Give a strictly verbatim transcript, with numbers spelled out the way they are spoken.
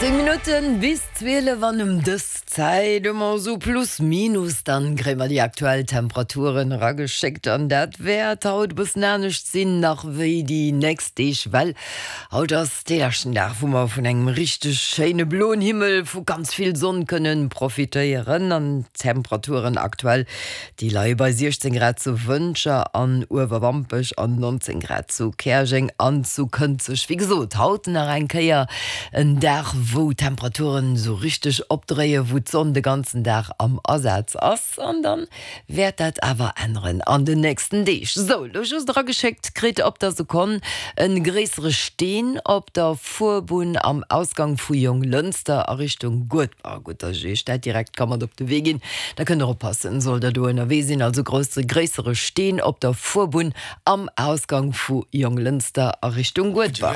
Zéng Minutten bis zwielef an ëm dës Zäit ëmmer sou plus minus, dann kréie mer déi aktuell Temperaturen erageschéckt an dat wäert haut e bëssen anescht sinn nach wéi déi nächst Deeg, well haut ass dee leschten Dag, wou mer vun engem richteg schéine bloen Himmel, vu ganz vill Sonn kënnen profitéieren an d'Temperaturen aktuell, déi leie bei siechzéng Grad zu Wëntger an Uewerwampech an nonzéng Grad zu Käerjeng an zu Kënzeg. Wéi gesot, haut nach eng Kéier en Dag, wou d'Temperaturen esou richteg opdréien, wou d'Sonn de ganzen Dag am Asaz ass an dann wäert dat awer änneren an den nächsten Deeg. Sou, lo just erageschéckt kritt op der Sekonn en gréissere Steen op der Fuerbunn am Ausgang vu Jonglënster a Richtung Guedber. Gutt, dass ech iech dat direkt ka mat op de Wee ginn, da kënnt der oppassen, sollt der do ënnerwee sinn. Also grousse gréissere Steen op der Fuerbunn am Ausgang vu Jonglënster a Richtung Guedber.